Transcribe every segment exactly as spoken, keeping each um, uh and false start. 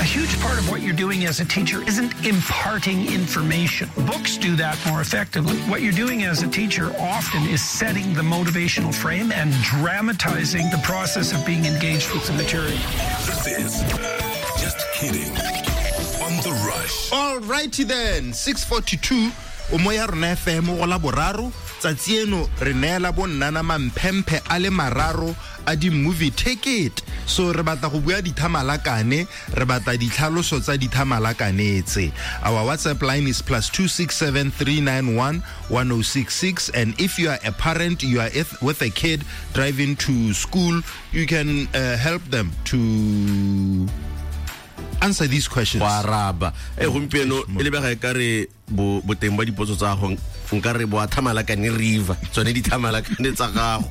A huge part of what you're doing as a teacher isn't imparting information. Books do that more effectively. What you're doing as a teacher often is setting the motivational frame and dramatizing the process of being engaged with the material. This is Just Kidding on The Rush. All righty then, six forty-two, o mo ya rona F M go la boraro, tsatsi eno re neela bo nnana mamphemphe a le mararo a di-movie ticket. So re batla go bua dithamalakane, re batla ditlhaloso tsa dithamalakane tse. Our WhatsApp line is plus two six seven three nine one one oh six six, and if you are a parent, you are with a kid driving to school, you can uh, help them to answer these questions. Go araba. E gompieno e lebega e ka re bo boteng ba dipotso tsa go nka re bo a thamalakane river, tsone di thamalakane tsa gago.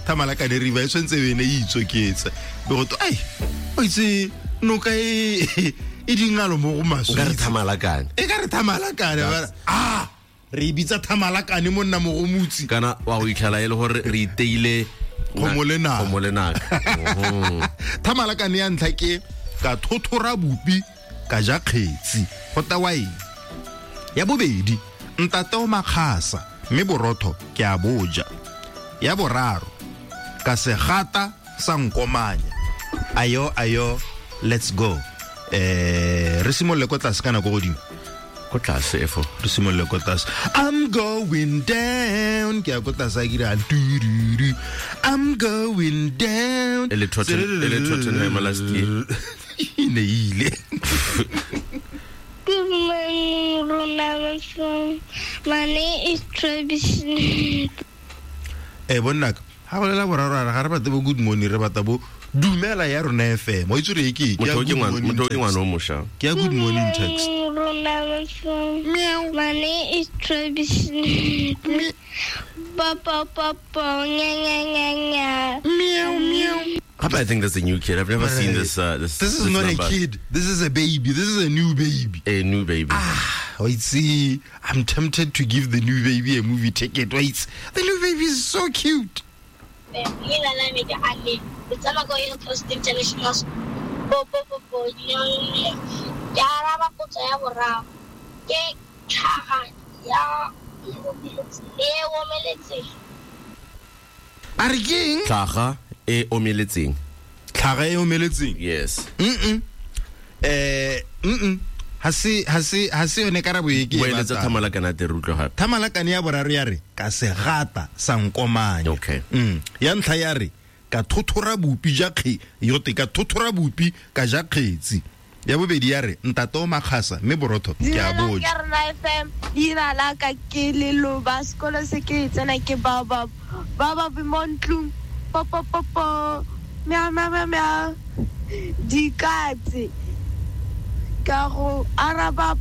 Thamalakane river e tshwantse e ne e itsoketsa. Be go to ai o itse noka e e dingalo mo go maswe. Nka re thamalakane. E ka re thamalakane ba ah re bitsa thamalakane mo nna mo go mutsi. Kana wa go itlhela e le gore re iteile go molena. Go molena. Thamalakane ya ntlha ke ka thothora bupi ka ja kgetsi go tawa eng. Ya bobedi ntate o makgasa mme borotho ke a boja. Ya boraro ka segata sa nkomanya. Ayo ayo, let's go. Eh re simolole ko tlase kana ko godimo? Ko tlase efo. Re simolole ko tlase. I'm going down. Ke ya ko tlase a kira du. I'm going down. E le Tottenham, e le Tottenham last year. Ne ile. Good morning, Rona. My name is Travis. Eh bonnaka, ha go lela boraro ga re batle bo good morning, re batla bo dumela ya rona F M. O itse re ke ke motho ke ngwana, motho ke ngwana o mosha. Ke ya good morning text. Meow. My name is Travis. Papa papa nya nya nya nya. Meow meow. I think that's a new kid. I've never seen this. Uh, this, this is this not number. A kid. This is a baby. This is a new baby. A new baby. Ah, wait, see, I'm tempted to give the new baby a movie ticket. Wait, the new baby is so cute. King? Tlhaga e omeletseng. Tlhaga e omeletseng? Yes. Mm-mm. Eh, mm-mm. Ha se ha se ha se yone karabo e ke e batlang. Thamalakane te re utlwe gape. Thamalakane ya boraro ya re ka segata sa nkomanya. Okay. Mm. Ya ntlha ya re ka thothora bupi ja kge yote ka thothora bupi ka ja kgetsi. Ya bobedi ya re ntate o makgasa mme borotho ke a boja. Ke rena F M leina la ka ke Leloba, sekolo se ke tsena ke Baobab. Baobab mo ntlong. Po po po po. Meow meow meow meow. Dikatse. Ka go araba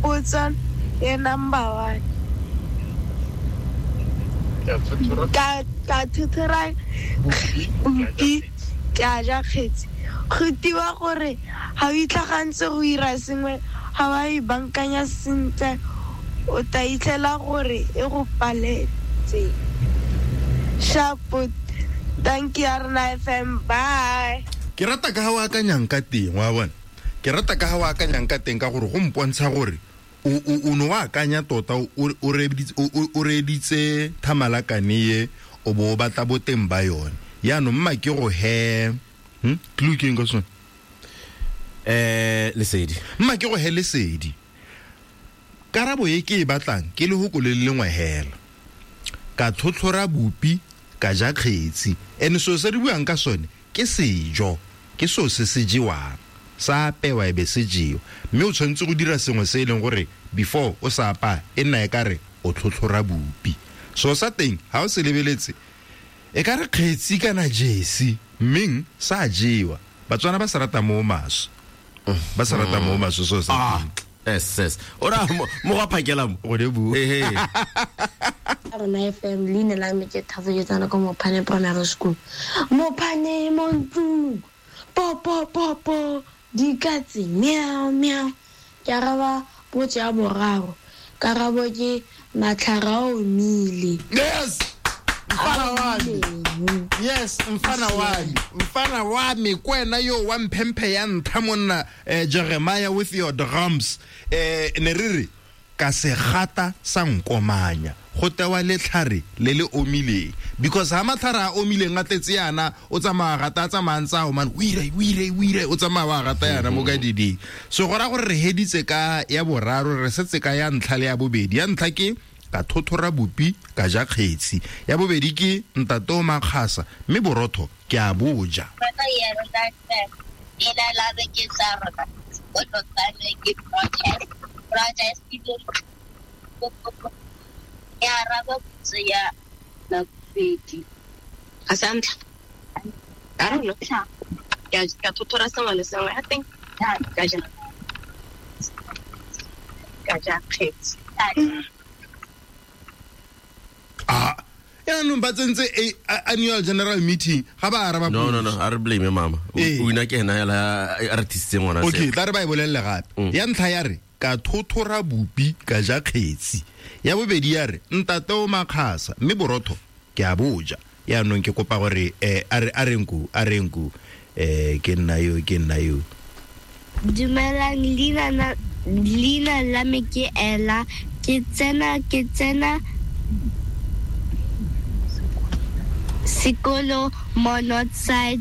potso ya number one. Ka ka thothora bupi ka ja kgetsi. Go tiwa gore ha o itlhagantse go ira sengwe ha wa e bankanya sentle o ta itlhela gore e go paletse. Shapo, thank you Rona F M, bye. Ke rata ka ha o akanyang ka teng wa bona. Ke rata ka ha o akanyang ka teng ka gore go mpontsha gore o o no wa akanya tota o reditse o reditse thamalakane ye o bo batla boteng ba yone. Yaanong mma ke go he hm clue ke eng ka sone? Eh lesedi. Mma ke go he lesedi. Karabo e ke e batlang ke le hoko le lengwe hela. Ka tlhotlhora bupi ka ja kgetsi. Ene so se re buang ka sone ke sejo, ke so se se jewang. Sa apewa e be se jewa. Mme o tshwanetse go dira sengwe se e leng gore before o sa apaya e nna e ka re o tlhotlhora bupi. So sa teng ha o se lebeletse e ka re kgetsi kana jesi mmeng sa jewa. Batswana ba se rata mo maswe. Ba se rata mo maswe so sa ah yes yes. Ora mo go phakela mo. Go de bu. Eh eh. Rona F M leina la me ke Thato ke tsena ko Mopane Primary School. Mopane mo ntlong. Po po po po. Dikatse meow meow. Ke araba potso ya boraro. Karabo ke matlhara o omile. Yes. Mfana wa me. Yes, mfana wa me, mfana wa me kwena yo wa mphemphe ya ntha monna, eh, Jeremiah with your drums. Eh, ne re re ka segata sa nkomanya go tewa letlhare le le omileng, because ha matlhare a omileng a tletse yana o tsamaya gata a tsamaya ntse a omane, o ire o ire o ire o tsamaya wa gata yana mo ka diding. So go raya gore re heditse ka ya boraro, re setse ka ya ntlha le ya bobedi. Ya ntlha ke ka thothora bopi ka ja kgetsi, ya bobedi ke ntate o makgasa mme borotho ke a boja. Ah, yaanong ba tsentse annual general meeting ga ba araba. No, no, no, a re blame mama. O ina ke ena ya artist ngwana se. Okay, tla re ba e bolelle gape. Ya ntlha ya re ka thothora bopi ka ja kgetsi, ya bobedi ya re ntate o makgasa mme borotho ke a boja. Yaanong ke kopa gore eh a re a renku a renku eh ke nna yo ke nna yo. Dumelang, leina na leina la me ke Ella, ke tsena ke tsena sekolo mo Northside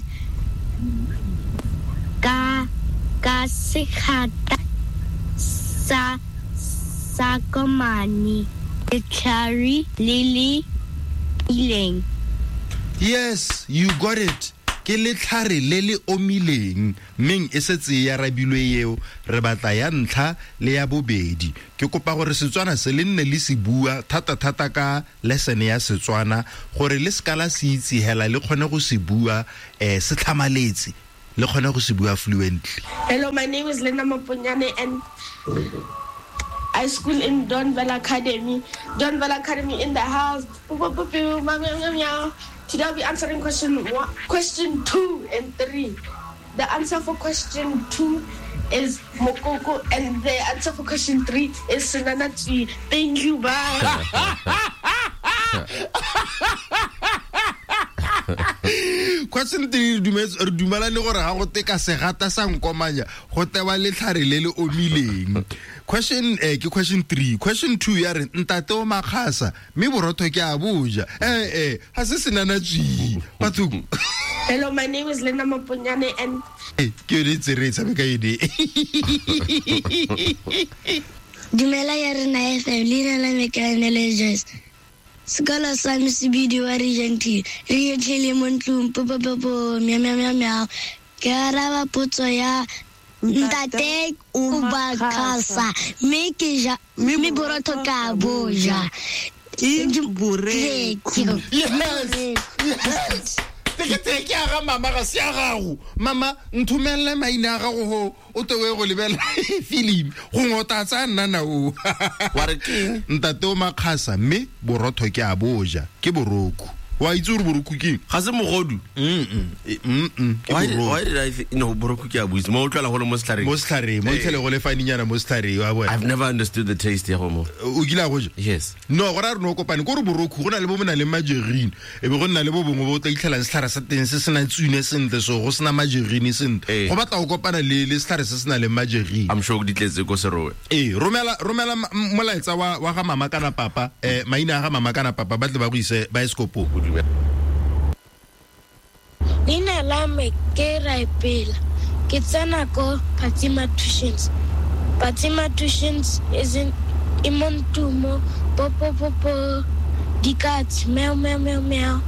ka ka segata sa sa komane letlhare le le ileng. Yes, you got it. Ke letlhare le le omileng, mmeng e setse ya rabilwe eo, re batla ya ntlha le ya bobedi. Ke kopa gore Setswana se le nne le se bua thata-thata ka lesson ya Setswana, gore le seka la se itse hela le kgone go se bua eh se tlhamaletse, le kgone go se bua fluently. Hello, my name is Lena Maponyane and I school in Donville Academy. Donville Academy in the house. Today I'll be answering question one, question two and three. The answer for question two is Mokoko, and the answer for question three is Senanatsi. Thank you, bye. Question three, re dumelane gore ga go te ka segata sa nkomanya go tewa letlhare le le omileng. Question eh ke question three. Question two ya re ntate o makgasa mme borotho ke a boja. Eh eh ha se senanatsi batho. Hello, my name is Lena Maponyane and eh ke yone tse re tshameka ene. Dumela ya rena F M, leina la me ke Anele Joyce. Sekolo sa me se bidiwa Regent Hill. Regent Hill e mo ntlong, po po po po, meow meow meow meow. Ke araba potso ya ntate o makgasa mme ke ja mme borotho ka boja. Ke borekhu. Yes, yes. Tekete ke ya ga mama ga se ya gago. Mama nthomelle maina a gago ho o tewe go lebela film gongwe o tla tsaya nna na o. Wa re keng? Ntate o makgasa mme borotho ke a boja ke boroko. Wa itse gore boroko ke eng? Ga se mogodu. Mm mm. Ke boroko. Why did I think no boroko ke a buitse mo utlwala go le mo setlhareng. Mo setlhareng, mo itlhele go le faninyana mo setlhareng wa bona. I've never understood the taste ya go mo. O kile a go ja? Yes. No, go ra re no kopane ko re boroko go na le bo bo nang le margarine, e be go nna le bo bongwe bo o tla itlhelang setlhare sa teng se sena tsune sentle, so go sena margarine sentle. Go batla go kopana le le setlhare se se nang le margarine. I'm sure di tletse ko Serowe. Ee, romela romela molaetsa wa wa ga mama kana papa, eh maina a ga mama kana papa ba tle ba go ise baesekopong. Leina la me ke Raipela. Ke tsena ko Fatima Tuitions. Fatima Tuitions is in e mo ntumo, po po po po, dikatse, meow meow meow meow.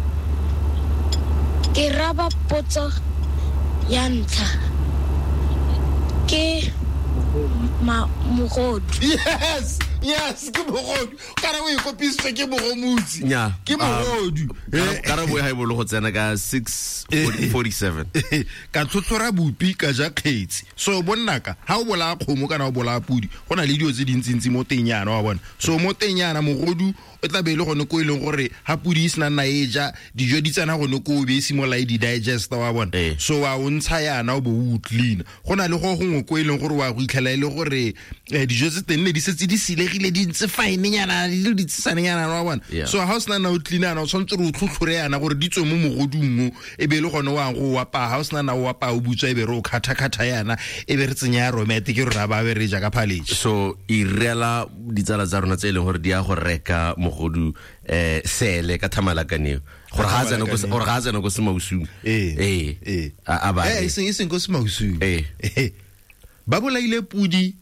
Ke raba potso ya ntlha. Ke ma mogodu. Yes, yes, ke mogodu. Kana o e kopisitswe ke mogomotsi. Ke mogodu. Karabo e ha e bolo go tsena ka six forty-seven. Ka tlhotlhora bopi ka ja kgetsi. So bonnaka ha o bolaya kgomo kana o bolaya pudi, go na le dio tse dintsintsi mo teng yana wa bona. So mo teng yana mogodu o tla be le gone ko e leng gore ha pudi e sena nna e ja, dijo di tsena gone ko o be e simola e di digest wa bona. So wa o ntsha yana o bo o clean. Go na le go gongwe ko e leng gore wa go itlhela fitlhela e le gore eh, dijo tse teng ne di setse di silegile di ntse finenyana di le ditshesanenyana wa bona. Yeah. So ha o sena na o cleana o tshwanetse re o tlhotlhore yana gore di tswe mo mogodung o e be e le gone o yang go o apaya. Ha o sena na o apaya o butswa e be re o kgatha-kgatha yana e be re tsenya ya romete ke rona ba be re ja ka phaletše. So irela ditsala tsa rona tse e leng gore di ya go reka mogodu eh sele ka thamalakaneo gore ga a tsena ko gore ga a tsena ko semausung. Ee. Ee. Ee. A a ba Eh, e seng e seng ko semausung. Ee. Eh. Ba bolaile pudi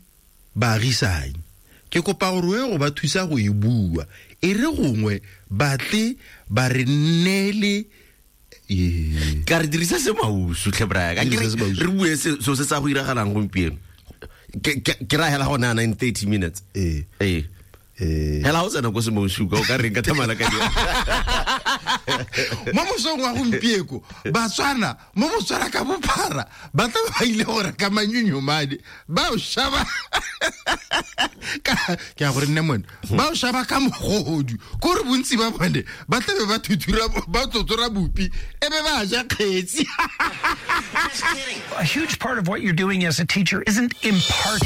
baagisane. Ke kopa gore o ye go ba thusa go e bua. E re gongwe batle ba re neele. Ee. Ka re dirisa semausu tlhe Brian. Ka Dirisa ke re semausu. re bue se so se sa go iragalang gompieno. Ke ke ke ra hela go nana in thirty minutes. Ee. Ee. Eh. Hela o tsena ko semausu ka o ka reng ka thamalakaneo. Mo mosong wa gompieko Batswana mo Botswana ka bophara ba tla ba ile go reka manyonyomane ba o shaba ka ke a gore nne mone ba o shaba ka mogodu kore bontsi ba bone ba tlabe ba thuthura ba tlotsora bopi e be ba ja kgetsi. A huge part of what you're doing as a teacher isn't imparting